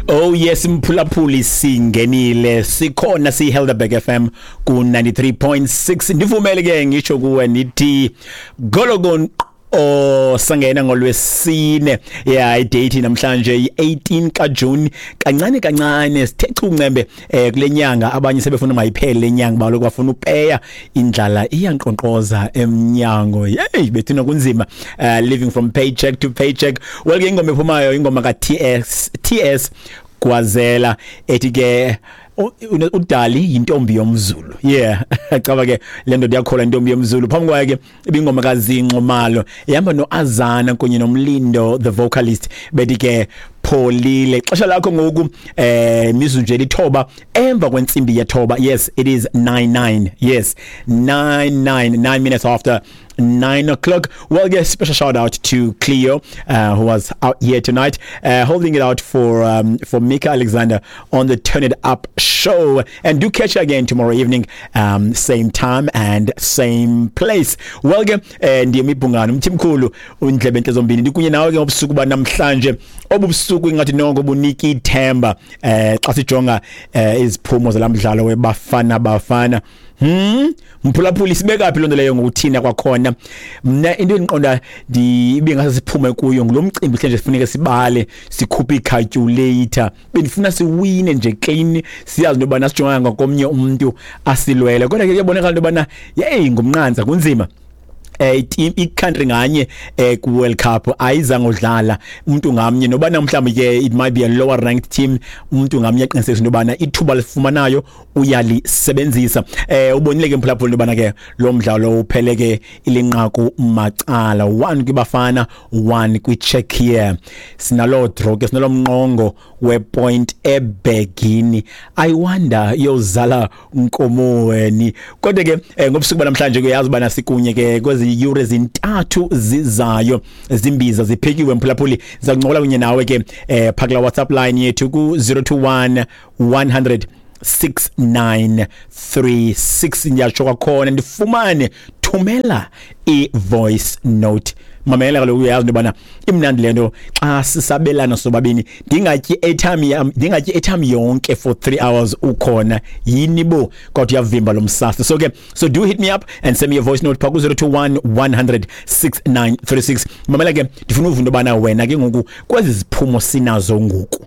Oh yes, mphulaphuli, singenile, sikhona, siyiHelderberg FM ku 93.6. Ndivumele ke ngisho kuwe nithi gologon oh sangena ngolwesine. Yeah, idate namhlanje i18 kaJune. Kancane kancane sithe chuncembe kule nyanga. Abanye sebefuna mayiphele lenyanga, baloku bafuna upeya, indlala iyankqonkqoza emnyango. Hey bethina, kunzima, living from paycheck to paycheck. Well ke, ingoma ephumayo, ingoma ka TS TS Gwazela, ethi ke udali yintombi yomZulu. Yeah, caba ke le ndoda yakhola intombi yomZulu. Phambi kwayo ke ibingoma kaZinxumalo ihamba noAzana kunye noMlindo the vocalist, bethi ke pholile. Xesha lakho ngoku mizuzu nje lithoba emva kwentsimbi yethoba. Yes, it is 99, yes, 99, 9 minutes after 9 o'clock. Well, yes, special shout out to Cleo, who was out here tonight, holding it out for Mika Alexander on the Turn It Up show. And do catch her again tomorrow evening, same time and same place. Well, ke ndiyemibhungano umthimkhulu undlebe entle zombini, ndikunye nawe ke ngobusuku banamhlanje. Obubusuku ingathi noko bunika ithemba xa sijonga iziphumo zalamdlalo weBafana Bafana. Mphulaphuli, sibeka phi lonto leyo ngokuthina kwakhona? Mna into endiqonda ndibe ngase siphume kuyo ngulo mcimbi hle nje, sifuneke sibale, sikhuphe icalculator. Bendifuna siwine nje clean, siyazi into yobana sijonga ngakomnye umuntu asilwele, kodwa ke kuyabonakala into yobana yeyi, ngumnqantsa, kunzima. Team, i-country nganye ku World Cup ayizange udlala umuntu ngamnye, noba mhlawumbe ke it might be a lower ranked team, umuntu ngamnye aqinisekisa into yobana ithuba lifumanayo uyalisebenzisa. Ubonile ke mphulaphula into yobana ke lo mdlalo uphele ke ilinqaku macala, 1 kwiBafana, 1 kwiCzechia. Sinalo draw ke, sinalo mnqongo wepoint ebhegini. I wonder iyozala nkomoweni. Kodwa ke ngobusuku banamhlanje kuyazi bana sikunye ke kwezi yure zintathu zizayo, zimbiza ziphekiwe mphulaphuli. Zakuncokola kunye nawe ke phakula WhatsApp line yethu ku 021 100 6936. Ndiyatsho kwakhona, ndifumane, thumela i-voice note. Mamela kaloku, uyazi into yobana imnandi le nto xa sisabelana sobabini. Ndingatyi airtime yam, ndingatyi airtime yonke for 3 hours ukhona yini bo, kodwa uyavimba lo msasa. So ke, so do hit me up and send me a voice note pha ku 021 100 6936. Mamela ke, ndifuna uva into yobana wena ke ngoku kwezi ziphumo sinazo ngoku.